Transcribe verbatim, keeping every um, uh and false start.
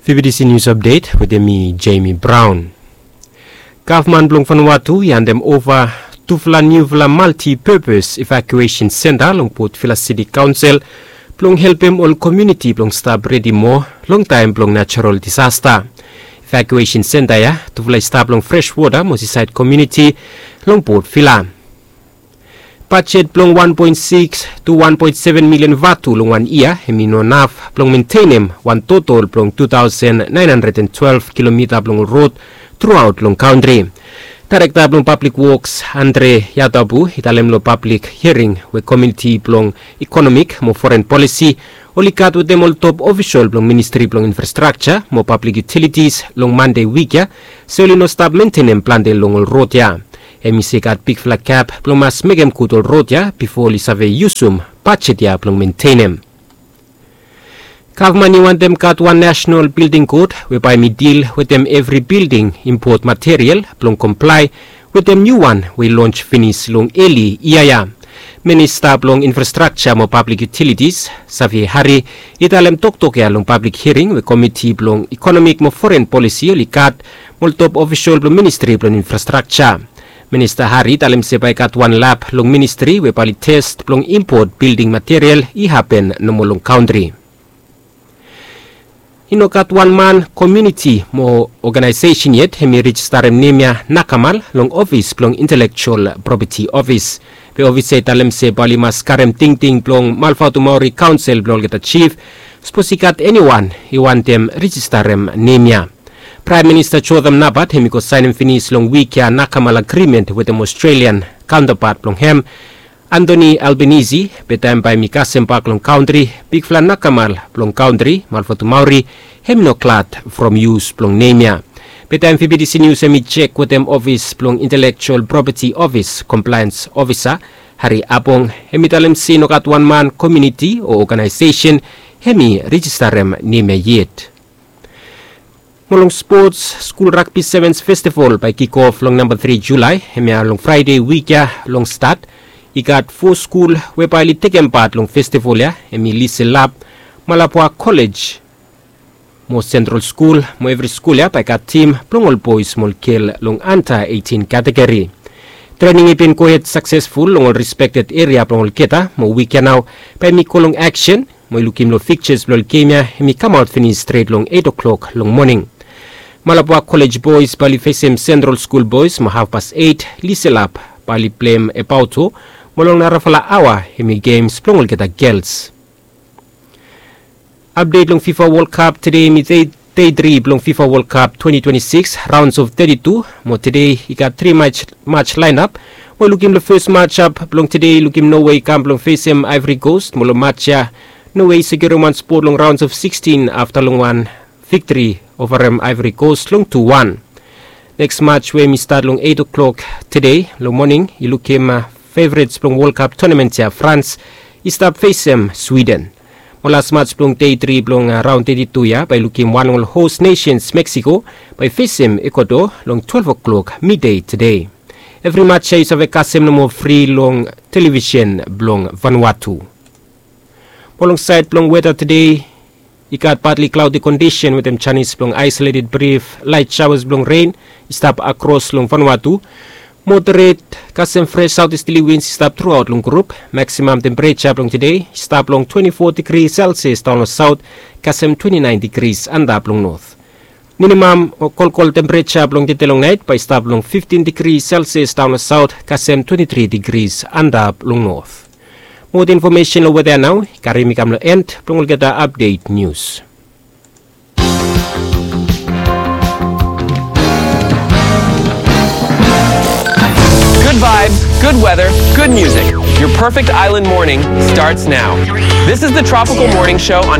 Fifty C News Update wetem mi, Jamie Brown. Gavman blong Vanuatu i handem ova tufala niufala multi-purpose evacuation center long Port Vila City Council blong helpem ol komuniti blong stap redi moa long taem blong natural disaster. Evacuation center ya tufala i stap long Freshwater mo Seaside Community long Port Vila. Bajet blong wan poen sikis tu wan poen seven milian vatu long wan yia hem i no naf blong mentenem wan totol blong tu taosen naen handred an twelef kilomita blong ol rod truaot long kantri. Daerekta blong Pablik Woks, Andre Yadabu, i talem long pablik hiaring we komiti blong ikonomik mo foren polisi oli gat wetem ol top ofisol blong ministri blong infrastrakja mo pablik yutilitis long Mande wik ya, se oli no stap mentenem plante long ol rod ya. Hem i se i gat bigfala gap blong mas mekem gud ol rod ya bifo oli save yusum bajet ya blong mentenem. Gavman i wantem gat wan nasenal bilding kod we bae hem i dil wetem evri bilding impot material blong komplae wetem niuwan we i lons finis long eli yia ya. Minista blong Infrastrakja mo Pablik Yutilitis, Xavier Hari, i talem toktok ya long pablik hiaring we komiti blong ikonomik mo foren polisi oli gat mo ol top ofisol blong ministri blong infrastrakja. Minista Hari i talem se bae i gat wan lab long ministri we bae oli tes blong impot bilding material i hapen nomo long kantri. I no gat wan man, komuniti mo oganaesesen yet hem i rejistarem nem ya nakamal long ofis blong Intelekjual Propeti Ofis. Be ofis ya i talem se bae oli mas karem tingting blong Malvatumauri Kaonsel blong olgeta jif, sapos i gat eniwan i wantem rejistarem nem ya. Praem Minista Jotham Napat hem i go saenem finis long wik ya nakamal agrimen wetem Australian kaontapat blong hem, Anthony Albanese, be taem bae hem i kasem bak long kantri, bigfala nakamal blong kantri, Malvatumauri, hem i no glad from yus blong nem ya. Be taem Fifty C News hem i jek wetem ofis blong Intelekjual Propeti Ofis, komplaens ofisa, Hari Apong, hem i talem se i no gat wan man, komuniti o oganaesesen hem i rejistarem nem ya yet. Mo long spots, skul ragbi sevens festival bae i kikof long namba tri Julae, hemia long Fraede wik ya long stat. I gat fo skul we bae oli tekem pat long festival ya, hem i Liselap, Malabwa Kolej mo Sentral Skul, mo evri skul ya bae i gat tim blong ol boes mo ol gel long anda eitin kategori. Trening i bin gohed saksesful long ol respekted eria blong olgeta, mo wik ya nao bae hem i go long aksen, mo i lukim long fikjas blong ol gem ya, hem i kamaot finis stret long eit o'klok long moning. Malabwa Kolej boes bae oli fesem Sentral Skul boes mo hafpas eit, Liselap bae oli pleim Ebauto, mo long narafala aoa hem i gems blong olgeta gels. Apdet long FIFA World Cup, tede hem i dei, dei tri blong FIFA World Cup twenti twenti sikis, raons of teti tu, mo tede i gat tri maj, maj laenap. Mo lukim long fes majap blong tede, lukim Nowe i kam blong fesem Ivory Coast, mo long maj ya Nowe i sekiurem wan spot long raons of sikstin afta long wan viktri ovarem Ivory Coast long tu wan. Neks maj we hem i stat long eit o'klok tede long moning, i lukim, a, fevrets blong World Cup tonamen ya, Frans i stap fesem Swiden. Mo las maj blong dei tri blong, a, raon teti tu ya bae i lukim wan long ol hos nesens, Meksiko, bae i fesem Ekuador long twelef o'klok midei tede. Evri maj ya yu save kasem nomo fri long televisen blong Vanuatu. Mo long saed blong weta tede, i gat partly cloudy kondisen wetem janis blong aisoleted brif laet shaoas blong ren i stap akros long Vanuatu. Moderet kasem fres saotesterly wins i stap truaot long grup. Maksimam tempereja blong tede i stap long twenti fo digri Selsias daon long saot, kasem twenti naen digri antap long not. Minimam o kolkol tempereja blong tede long naet bae i stap long fiftin digri Selsias daon long saot, kasem twenti tri digri antap long not. Moa infomesen long weta ya nao i karim mi kam long en blong olgeta apdet nius. Good vibes, good weather, good music. Your perfect island morning starts now. This is the Tropical Morning Show on